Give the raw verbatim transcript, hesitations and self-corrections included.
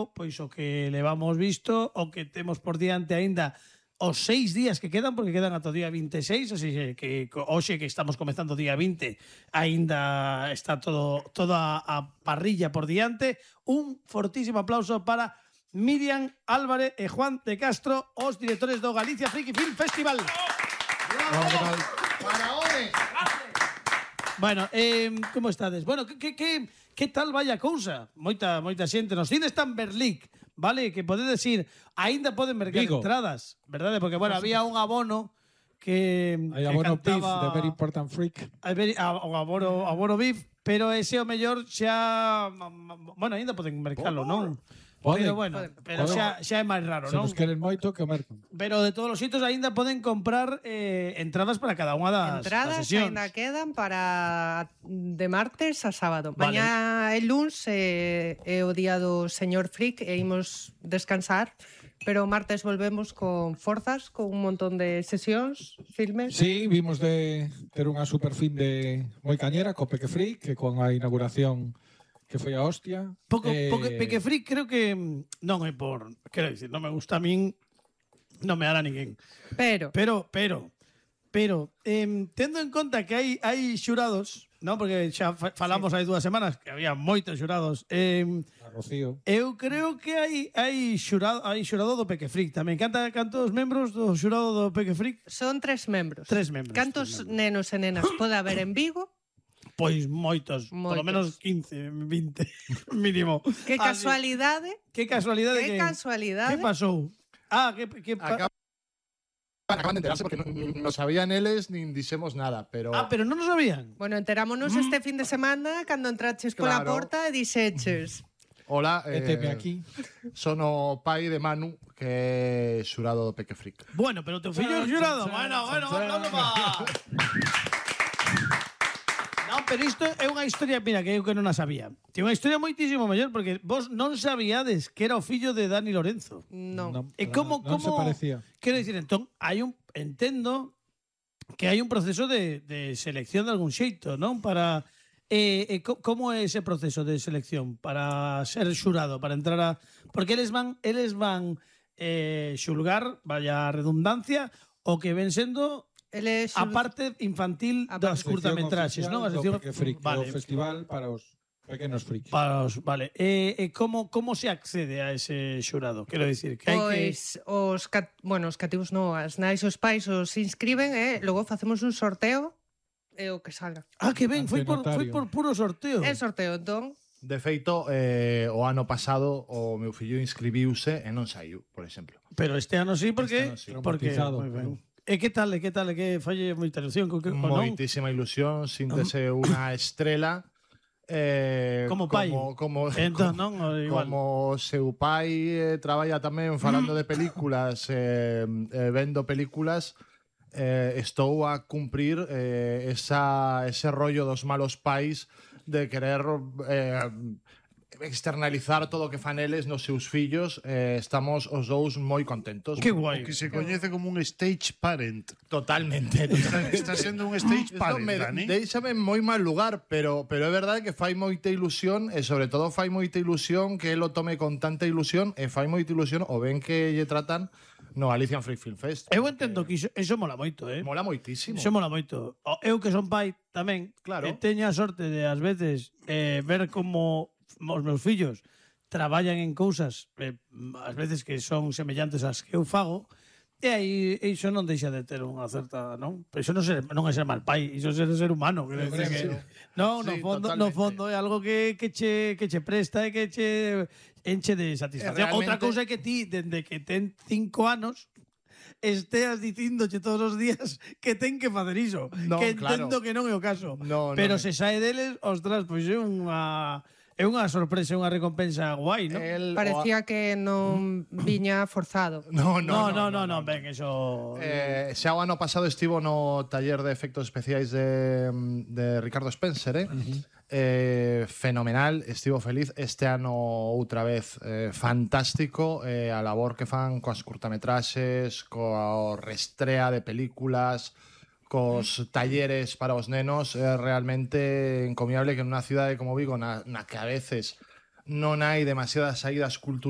pois o que levamos visto, o que temos por diante aínda os seis días que quedan, porque quedan ata o día vinte e seis, así que hoxe que estamos comezando o día vinte, aínda está todo toda a parrilla por diante. Un fortísimo aplauso para Miriam Álvarez e Juan de Castro, os directores do Galicia Friki Film Festival. ¡Bravo! ¡Faraones! Bueno, eh, como estades? Bueno, que, que, que, que tal vai a cousa? Moita, moita xente nos cines tan Berlic, vale? Que podedes ir, aínda poden mercar Vigo. entradas, verdade? Porque, bueno, había un abono que, Hai que abono P I F cantaba... de Very Important Freak. A ver, a, o abono, abono B I F, pero ese o mellor xa... Bueno, aínda poden mercalo, non? Poden. Pero bueno, pero xa, xa é máis raro, Se non? nos queren moito, que o mercan. Pero de todos os sitios aínda poden comprar eh, entradas para cada unha das, Entradas das sesións. ainda quedan para de martes a sábado. Vale. Mañá é luns é, é o día do señor Frick e imos descansar, pero o martes volvemos con forzas, con un montón de sesións, filmes. Sí, vimos de ter unha super fin de moi cañera co Peque Freak, que con a inauguración que foi a hostia. Poco, eh, poco, Peque Freak creo que non é por... Quero dicir, non me gusta a min, non me hará ninguén. Pero, Pero, pero, pero, eh, tendo en conta que hai, hai xurados, non? Porque xa fa- falamos hai dúas semanas que había moitos xurados. Eh, a Rocío. eu creo que hai hai xurado, hai xurado do Peque Freak tamén. Canta cantos membros do xurado do Peque Freak? son tres membros. Tres membros, Cantos tres membros. nenos e nenas pode haber en Vigo? Pois moitos, polo Moitos. menos quince, vinte mínimo. Que Así- casualidade? Que casualidade Que que casualidade? Que pasou? Ah, que que pa... Acab- Acaban de enterarse porque no, no sabían eles nin dixemos nada, pero... Ah, pero non o sabían. Bueno, enterámonos este fin de semana cando entraches pola Claro. porta e dixeches Hola, E teme aquí. son o pai de Manu, que é xurado do Peque Freak. Bueno, pero teu fillo é xurado. Bueno, bueno, bueno, va. Non, pero isto é unha historia, mira, que eu que non a sabía. É unha historia moitísimo mellor, porque vos non sabíades que era o fillo de Dani Lorenzo. non. Non, E para como, nada. Non se como... parecía. Quero dicir, entón, hai un... Entendo que hai un proceso de, de selección de algún xeito, non? Para... Eh, eh, co- como é ese proceso de selección para ser xurado, para entrar a... Porque eles van, eles van eh, xulgar, vaya redundancia, o que ven sendo Ele a parte infantil A das parte- curtametraxes, non? A sección Peque Freak, vale, o festival para os pequenos freaks. para os, vale. E, e como como se accede a ese xurado? Quero dicir que hai que Pois os, cat, bueno, os cativos non, as nais e os pais os inscriben e logo facemos un sorteo e o que salga. Ah, que ben, foi por foi Antenotario. por puro sorteo. É sorteo, entón, De feito, eh, o ano pasado o meu fillo inscribiuse e non saiu, por exemplo. Pero este ano sí, porque Este ano sí. porque Traumatizado. moi ben. E que tal, e que tal, e que falle moita ilusión, co que o non? Moitísima ilusión, síntese unha estrela. Eh, Como pai. Como, como, Entón, non, igual. como seu pai eh, traballa tamén falando de películas, eh, eh, vendo películas, eh, estou a cumprir eh, esa, ese rollo dos malos pais de querer eh, externalizar todo o que fan eles nos seus fillos. Eh, estamos os dous moi contentos. Que guai. O que se coñece como un stage parent. Totalmente. totalmente. Está sendo un stage Isto parent, me, Dani. deixame en moi mal lugar, pero pero é verdade que fai moita ilusión e sobre todo fai moita ilusión que el o tome con tanta ilusión e fai moita ilusión o ben que lle tratan no Galician Free Film Fest. Eu entendo que iso, iso mola moito, eh? Mola moitísimo. Iso mola moito. O- Eu que son pai tamén, Claro. e teño a sorte de ás veces eh, ver como os meus fillos traballan en cousas eh, ás veces que son semellantes ás que eu fago, e aí iso non deixa de ter unha certa, non? Pero iso non, ser, non é ser mal pai, iso é ser ser humano, quero dicir que non, no Sí, fondo, no totalmente. fondo é algo que, que che que che presta e que che enche de satisfacción. E realmente- Outra cousa é que ti dende que ten cinco anos esteas dicíndoche todos os días que ten que facer iso. Non, que claro. entendo que non é o caso. No, pero non se é. sae deles, ostras, pois é unha é unha sorpresa, unha recompensa guai, non? El, parecía que non viña forzado. No, No, no, no, no, no, ben, eso... Eh, xa o ano pasado estivo no taller de efectos especiais de, de Ricardo Spencer, eh? Uh-huh. eh, fenomenal, estivo feliz. Este ano outra vez eh, fantástico, eh, a labor que fan coas curtametraxes, coa restrea de películas, cos talleres para os nenos, é realmente encomiable que nunha cidade como Vigo, na, na que a veces non hai demasiadas saídas culturales,